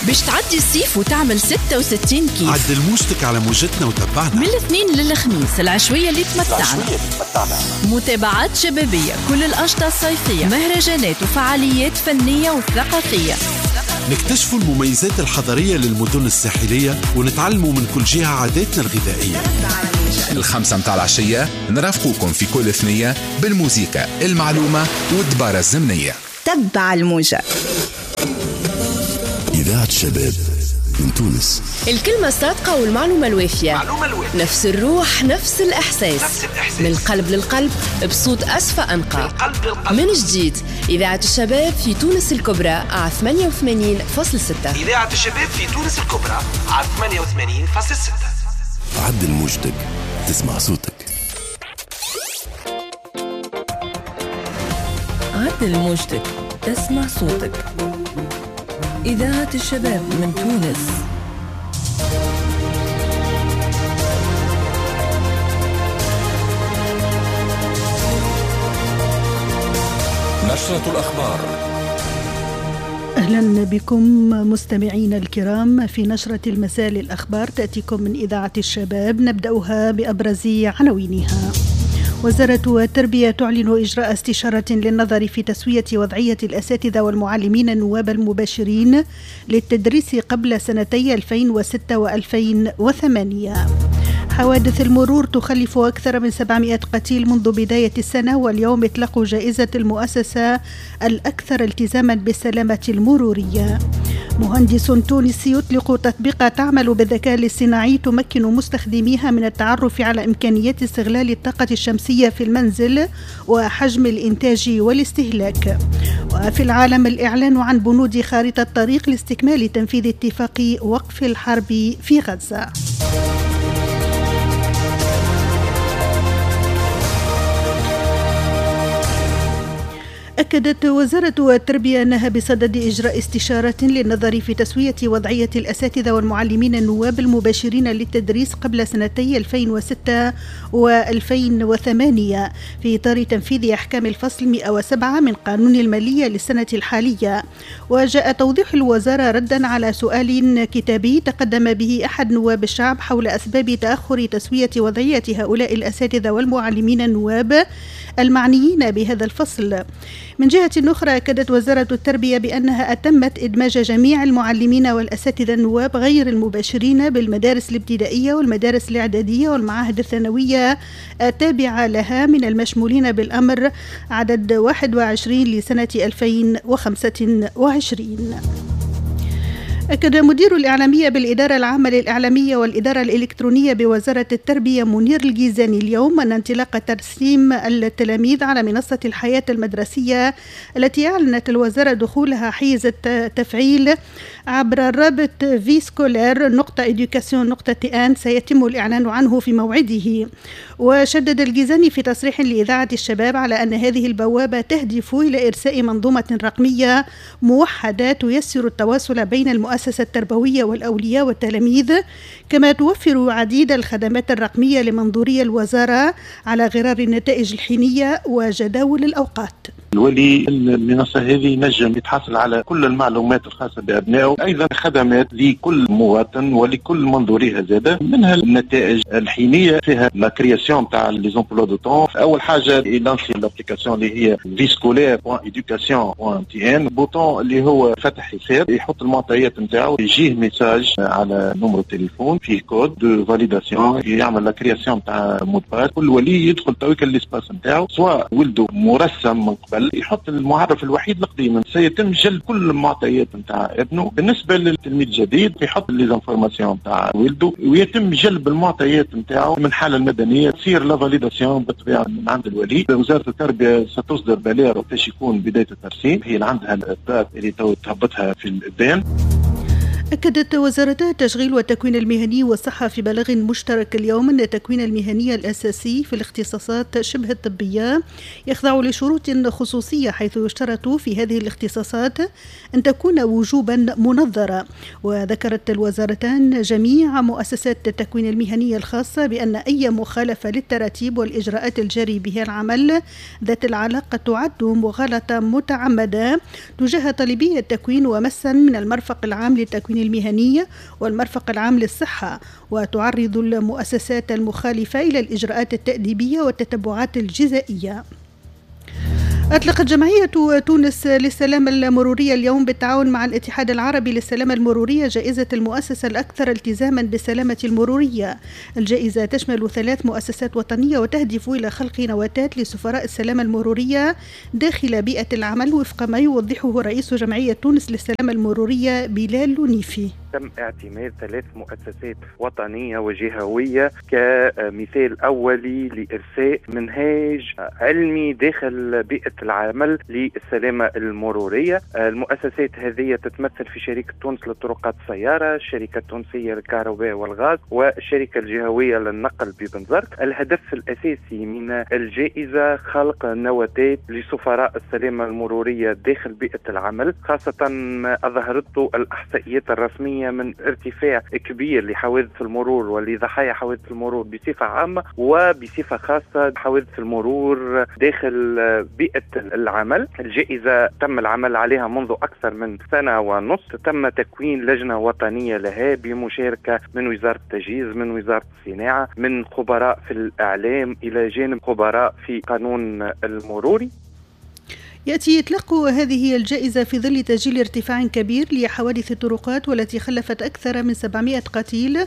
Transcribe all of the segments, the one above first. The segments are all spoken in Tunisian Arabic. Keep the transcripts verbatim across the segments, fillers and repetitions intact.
باش تعدي الصيف وتعمل ستة وستين كيف. عدل موجتك على موجتنا وتبعنا من الاثنين للخميس العشوية اللي تمتعنا، متابعات شبابية، كل الأنشطة الصيفية، مهرجانات وفعاليات فنية وثقافية. نكتشفوا المميزات الحضرية للمدن الساحلية ونتعلموا من كل جهة عاداتنا الغذائية. الخمسة متاع العشية نرافقوكم في كل ثنية بالموسيقى، المعلومة والدبارة الزمنية. تبع الموجة. إذاعة الشباب من تونس. الكلمة الصادقة والمعلومة الوافية، الوافية. نفس الروح، نفس الإحساس، نفس الإحساس. من القلب للقلب بصوت أسفى أنقى. من جديد إذاعة الشباب في تونس الكبرى على ثمانية وثمانين فاصلة ستة. إذاعة الشباب في تونس الكبرى على ثمانية وثمانين فاصلة ستة. عدل موجتك تسمع صوتك. عدل موجتك تسمع صوتك. إذاعة الشباب من تونس. نشرة الأخبار. أهلا بكم مستمعينا الكرام في نشرة المساء للأخبار، تأتيكم من إذاعة الشباب. نبدأها بأبرز عناوينها. وزارة التربية تعلن إجراء استشارة للنظر في تسوية وضعية الأساتذة والمعلمين النواب المباشرين للتدريس قبل سنتي ألفين وستة وألفين وثمانية. حوادث المرور تخلف أكثر من سبعمائة قتيل منذ بداية السنة، واليوم إطلاق جائزة المؤسسة الأكثر التزاما بالسلامة المرورية. مهندس تونسي يطلق تطبيق تعمل بالذكاء الاصطناعي تمكن مستخدميها من التعرف على إمكانيات استغلال الطاقة الشمسية في المنزل وحجم الإنتاج والاستهلاك. وفي العالم الإعلان عن بنود خارطة الطريق لاستكمال تنفيذ اتفاق وقف الحرب في غزة. أكدت وزارة التربية أنها بصدد إجراء استشارة للنظر في تسوية وضعية الأساتذة والمعلمين النواب المباشرين للتدريس قبل سنتي ألفين وستة وألفين وثمانية في إطار تنفيذ أحكام الفصل مئة وسبعة من قانون المالية للسنة الحالية. وجاء توضيح الوزارة ردا على سؤال كتابي تقدم به أحد نواب الشعب حول أسباب تأخر تسوية وضعية هؤلاء الأساتذة والمعلمين النواب المعنيين بهذا الفصل. من جهة أخرى أكدت وزارة التربية بأنها أتمت إدماج جميع المعلمين والأساتذة النواب غير المباشرين بالمدارس الابتدائية والمدارس الإعدادية والمعاهد الثانوية التابعة لها من المشمولين بالأمر عدد واحد وعشرين لسنة ألفين وخمسة وعشرين. أكد مدير الإعلامية بالإدارة العامة للإعلامية والإدارة الإلكترونية بوزارة التربية منير الجيزاني اليوم أن انطلاق ترسيم التلاميذ على منصة الحياة المدرسية التي أعلنت الوزارة دخولها حيز التفعيل عبر الرابط vie scolaire نقطة éducation نقطة tn سيتم الإعلان عنه في موعده. وشدد الجيزاني في تصريح لإذاعة الشباب على أن هذه البوابة تهدف إلى إرساء منظومة رقمية موحدة تيسر التواصل بين المؤسسة التربوية والأولياء والتلاميذ، كما توفر عديد الخدمات الرقمية لمنظوري الوزارة على غرار النتائج الحينية وجداول الأوقات. الولي المنصة هذه ينجم يتحصل على كل المعلومات الخاصة بأبنائه، أيضا خدمات لكل مواطن ولكل منظوريها زادة، منها النتائج الحينية فيها la création تاع les emplois du temps. أول حاجة يلانسي l'application اللي هي vie scolaire point éducation point tn، bouton اللي هو فتح حساب، يحط المعطيات نتاعو، يجيه message على numéro التليفون فيه code de validation، يعمل la création تاع mot de passe. كل ولي يدخل تويك l'espace نتاعو، سواء ولده مرسم من قبل يحط المعرف الوحيد القديم، سيتم جلب كل المعطيات نتاع ابنه. بالنسبة للتلميذ الجديد يحط les informations نتاع ولده ويتم جلب المعطيات نتاعو من الحالة المدنية، تصير la validation بالطبيعة من عند الولي. وزارة التربية ستصدر بلاغ وقتاش يكون بداية الترسيم، هي اللي عندها ال date اللي تو تهبطها في الابان. أكدت وزارة التشغيل والتكوين المهني والصحة في بلاغ مشترك اليوم أن التكوين المهني الأساسي في الاختصاصات شبه الطبية يخضع لشروط خصوصية، حيث يشترط في هذه الاختصاصات أن تكون وجوبا منظرة. وذكرت الوزارتان جميع مؤسسات التكوين المهني الخاصة بأن أي مخالفة للتراتيب والإجراءات الجاري بها العمل ذات العلاقة تعد مغالطة متعمدة تجاه طالبي التكوين ومسا من المرفق العام للتكوين الإذن المهني والمرفق العام للصحة، وتعرض المؤسسات المخالفة إلى الإجراءات التأديبية والتتبعات الجزائية. أطلقت جمعية تونس للسلامة المرورية اليوم بالتعاون مع الاتحاد العربي للسلامة المرورية جائزة المؤسسة الأكثر التزاما بالسلامة المرورية. الجائزة تشمل ثلاث مؤسسات وطنية وتهدف إلى خلق نواتات لسفراء السلامة المرورية داخل بيئة العمل، وفق ما يوضحه رئيس جمعية تونس للسلامة المرورية بلال لونيفي. تم اعتماد ثلاث مؤسسات وطنية وجهوية كمثال أولي لإرساء منهاج علمي داخل بيئة العمل للسلامة المرورية. المؤسسات هذه تتمثل في شركة تونس للطرقات السيارة، الشركة التونسية للكهرباء والغاز، والشركة الجهوية للنقل ببنزرت. الهدف الأساسي من الجائزة خلق نواتات لسفراء السلامة المرورية داخل بيئة العمل، خاصة ما أظهرته الإحصائيات الرسمية من ارتفاع كبير لحوادث المرور ولضحايا حوادث المرور بصفة عامة، وبصفة خاصة حوادث المرور داخل بيئة العمل. الجائزة تم العمل عليها منذ أكثر من سنة ونص. تم تكوين لجنة وطنية لها بمشاركة من وزارة التجهيز، من وزارة الصناعة، من خبراء في الإعلام، إلى جانب خبراء في قانون المروري. يأتي إطلاق هذه الجائزة في ظل تسجيل ارتفاع كبير لحوادث الطرقات والتي خلفت أكثر من سبعمائة قتيل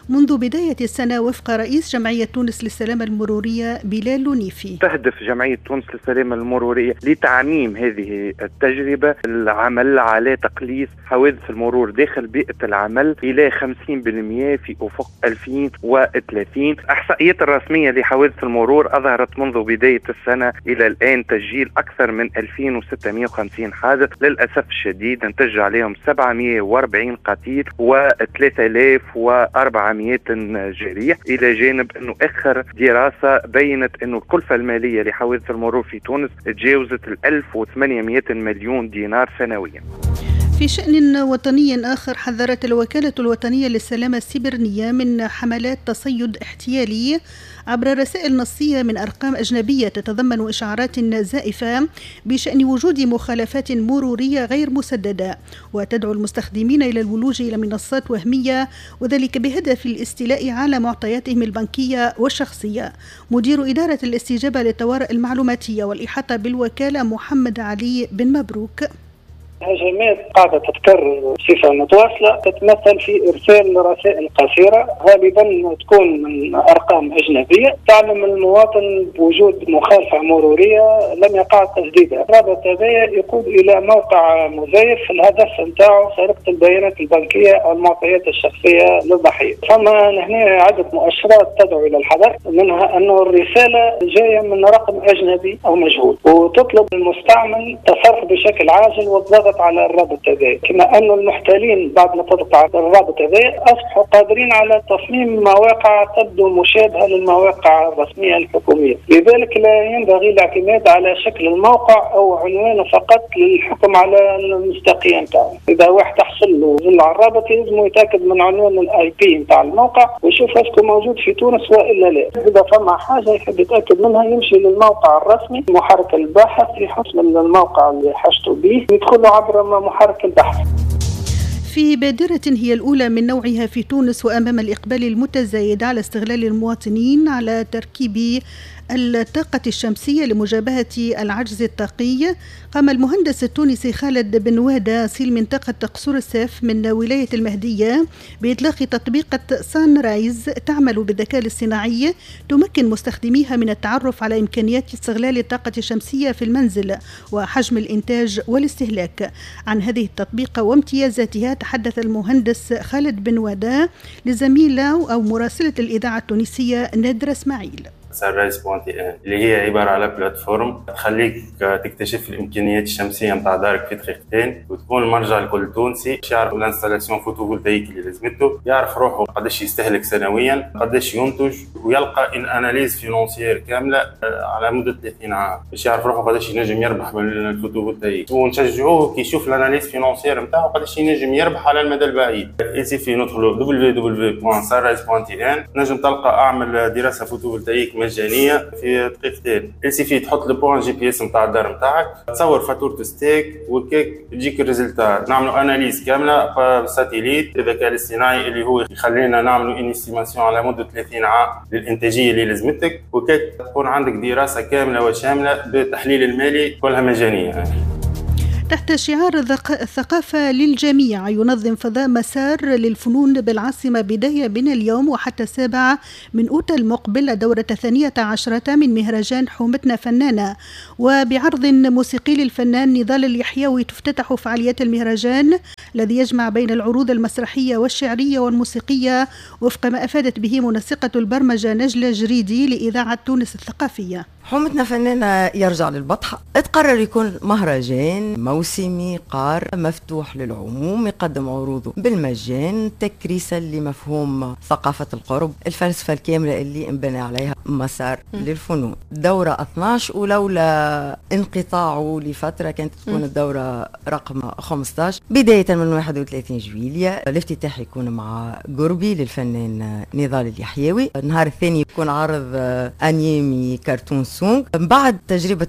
منذ بداية السنة، وفق رئيس جمعية تونس للسلامة المرورية بلال لونيفي. تهدف جمعية تونس للسلامة المرورية لتعميم هذه التجربة، العمل على تقليص حوادث المرور داخل بيئة العمل إلى خمسين بالمئة في أفق ألفين وثلاثين. الإحصائيات الرسمية لحوادث المرور أظهرت منذ بداية السنة إلى الآن تسجيل أكثر من ألفين وستمائة وخمسين حادث، للأسف الشديد انتج عليهم سبعمائة وأربعين قتيل وثلاثة آلاف وأربعمائة جريح، إلى جانب أنه آخر دراسة بينت أنه الكلفة المالية لحوادث المرور في تونس تجاوزت ألف وثمانمائة مليون دينار سنويا. في شأن وطني آخر، حذرت الوكالة الوطنية للسلامة السيبرنية من حملات تصيد احتيالي عبر رسائل نصية من أرقام أجنبية تتضمن إشعارات زائفة بشأن وجود مخالفات مرورية غير مسددة، وتدعو المستخدمين إلى الولوج إلى منصات وهمية، وذلك بهدف الاستيلاء على معطياتهم البنكية والشخصية. مدير إدارة الاستجابة للطوارئ المعلوماتية والإحاطة بالوكالة محمد علي بن مبروك: هجمات قاعدة تتكرر بصفة متواصلة تتمثل في إرسال رسائل قصيرة غالبا تكون من أرقام أجنبية تعلم المواطن بوجود مخالفة مرورية لم يقع تسديدها. الرابط هذا يقود إلى موقع مزيف الهدف نتاعو سرقة البيانات البنكية أو المعطيات الشخصية للضحية. فما هنا عدة مؤشرات تدعو إلى الحذر، منها أنه الرسالة جاية من رقم أجنبي أو مجهول وتطلب المستعمل التصرف بشكل عاجل والضغط على الرابط هذا. كما أن المحتالين بعد ما تضغط على الرابط هذا أصبحوا قادرين على تصميم مواقع تبدو مشابهة للمواقع الرسمية الحكومية، لذلك لا ينبغي الاعتماد على شكل الموقع أو عنوانه فقط للحكم على المصداقية نتاعو. إذا واحد تحصل له زل على الرابط لازم يتأكد من عنوان ال IP نتاع الموقع ويشوف est-ce que موجود في تونس وإلا لا. إذا فما حاجة يحب يتأكد منها يمشي للموقع الرسمي، محرك البحث يحط من الموقع اللي حاجته به يدخل عبر محرك البحث. في بادرة هي الأولى من نوعها في تونس، وأمام الإقبال المتزايد على استغلال المواطنين على تركيب الطاقة الشمسية لمجابهة العجز الطاقي، قام المهندس التونسي خالد بن وادة أصيل منطقة قصور الساف من ولاية المهدية بإطلاق تطبيقة سان رايز تعمل بالذكاء الاصطناعي تمكن مستخدميها من التعرف على إمكانيات استغلال الطاقة الشمسية في المنزل وحجم الإنتاج والاستهلاك. عن هذه التطبيقة وامتيازاتها تحدث المهندس خالد بن وادة لزميلة أو مراسلة الإذاعة التونسية نادرة إسماعيل. Sunrise point tn اللي هي عبارة على plateforme تخليك تكتشف الامكانيات الشمسية نتاع دارك في دقيقتين، وتكون المرجع لكل تونسي باش يعرف ال installation photovoltaïque اللي لازمته، يعرف روحه قداش يستهلك سنويا، قداش ينتج، ويلقى une analyse financière كاملة على مده ثلاثين عام باش يعرف روحه قداش ينجم يربح من ال photovoltaïque. ونشجعوه كي يشوف ال analyse financière نتاعو قداش ينجم يربح على المدى البعيد. il suffit ندخلوا دبليو دبليو دبليو دوت sunrise دوت tn نجم تلقى اعمل دراسة photovoltaïque مجانية في دقيقتين. il suffit تحط le point GPS نتاع الدار نتاعك، تصور فاتورة STEG وكيك تجيك ال résultat. نعملوا analyse كاملة satellite الذكاء الاصطناعي اللي هو يخلينا نعملوا une estimation على مده ثلاثين عام للانتاجيه اللي لازمتك، وكيك تكون عندك دراسة كاملة وشامله بالتحليل المالي كلها مجانية. تحت شعار الثقافة للجميع ينظم فضاء مسار للفنون بالعاصمة بداية من اليوم وحتى السابعة من أوت المقبل الدورة الثانية عشرة من مهرجان حومتنا فنانة، وبعرض موسيقي للفنان نضال اليحيوي تفتتح فعاليات المهرجان الذي يجمع بين العروض المسرحية والشعرية والموسيقية، وفق ما أفادت به منسقة البرمجة نجلة جريدي لإذاعة تونس الثقافية. حومتنا فنانة يرجع للبطحة، تقرر يكون مهرجان موسمي قار مفتوح للعموم، يقدم عروضه بالمجان، تكريسا لمفهوم ثقافة القرب، الفلسفة الكاملة اللي انبنى عليها مسار م. للفنون. دورة اثناش، ولولا انقطاعه لفترة كانت تكون الدورة رقم خمسة عشر. بداية من واحد وثلاثين جويلية الافتتاح يكون مع قربي للفنان نضال اليحيوي. النهار الثاني يكون عرض انيمي كرتون song، من بعد تجربة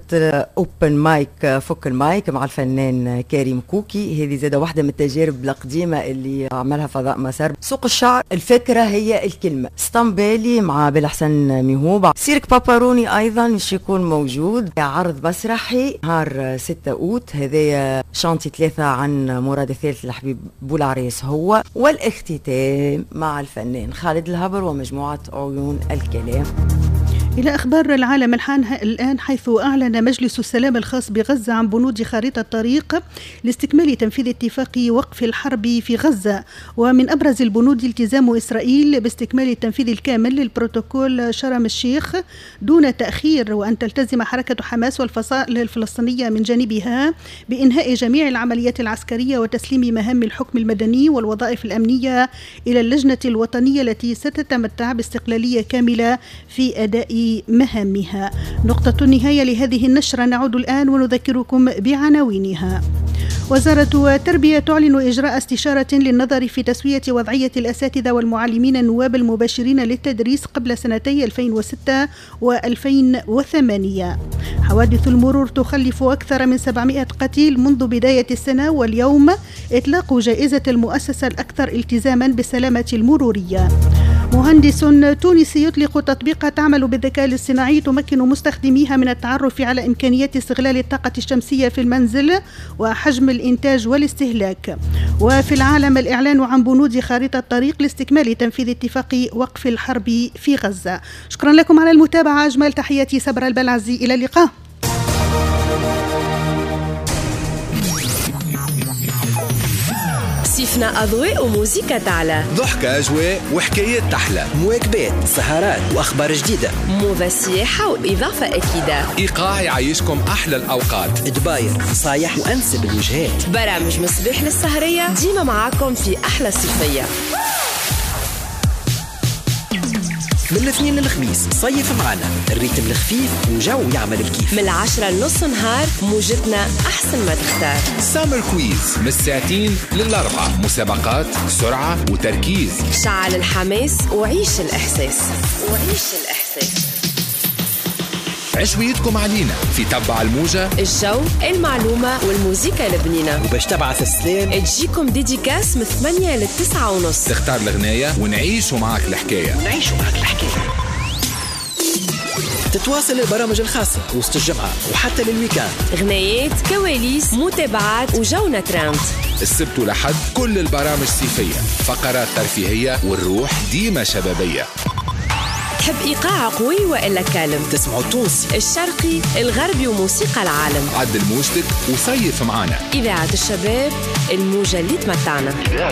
open mic، فك المايك مع الفنان كريم كوكي، هذه زادة واحدة من التجارب القديمة اللي عملها فضاء مسار. سوق الشعر، الفكرة هي الكلمة، اسطنبالي مع بالحسن ميهوب، سيرك باباروني أيضا مش يكون موجود، عرض مسرحي نهار ستة أوت، هذايا chantier ثلاثة عن مراد الثالث الحبيب بولعريس هو، والاختتام مع الفنان خالد الهبر ومجموعة عيون الكلام. إلى أخبار العالم الحان الآن، حيث أعلن مجلس السلام الخاص بغزة عن بنود خريطة الطريق لاستكمال تنفيذ اتفاق وقف الحرب في غزة، ومن أبرز البنود التزام إسرائيل باستكمال التنفيذ الكامل للبروتوكول شرم الشيخ دون تأخير، وأن تلتزم حركة حماس والفصائل الفلسطينية من جانبها بإنهاء جميع العمليات العسكرية وتسليم مهام الحكم المدني والوظائف الأمنية إلى اللجنة الوطنية التي ستتمتع باستقلالية كاملة في أداء مهامها. نقطة النهاية لهذه النشرة، نعود الآن ونذكركم بعناوينها. وزارة التربية تعلن إجراء استشارة للنظر في تسوية وضعية الأساتذة والمعلمين النواب المباشرين للتدريس قبل سنتي ألفين وستة وألفين وثمانية. حوادث المرور تخلف أكثر من سبعمائة قتيل منذ بداية السنة، واليوم إطلاق جائزة المؤسسة الأكثر التزاما بالسلامة المرورية. مهندس تونسي يطلق تطبيق تعمل بالذكاء الاصطناعي تمكن مستخدميها من التعرف على إمكانيات استغلال الطاقة الشمسية في المنزل وحجم الإنتاج والاستهلاك. وفي العالم الإعلان عن بنود خارطة الطريق لاستكمال تنفيذ اتفاق وقف الحرب في غزة. شكرا لكم على المتابعة، أجمل تحياتي صبر البلعزي، إلى اللقاء. صيفنا أضواء وموسيقى تعلى، ضحكة أجواء وحكايات تحلى، مواكبات سهرات وأخبار جديدة، موضة سياحة وإضافة أكيدة، إيقاع يعيشكم أحلى الأوقات، دباير نصايح وأنسب الوجهات، برامج مصباح للسهرية، ديما معاكم في أحلى صيفية. من الاثنين للخميس صيف معنا ال rythme الخفيف وجو يعمل الكيف، من العشرة لنص نهار موجتنا أحسن ما تختار. summer quiz من الساعتين للأربعة، مسابقات سرعة وتركيز، شعل الحماس وعيش الإحساس وعيش الإحساس. عشويتكم علينا في تبع الموجة، الجو، المعلومة والموسيقى البنينة، وباش تبعث السلام تجيكم dédicace من ثمانية لتسعة ونص، تختار الغناية ونعيشوا معك الحكاية ونعيشوا معك الحكاية. تتواصل البرامج الخاصة وسط الجمعة وحتى لل week-end، غنايات، كواليس، متابعات وجونا ترند. السبت ولحد كل البرامج صيفية، فقرات ترفيهية والروح ديما شبابية. تحب إيقاع قوي وإلا calme؟ تسمعوا التونسي الشرقي الغربي وموسيقى العالم. عدل موجتك وصيف معانا إذاعة الشباب، الموجة اللي تمتعنا.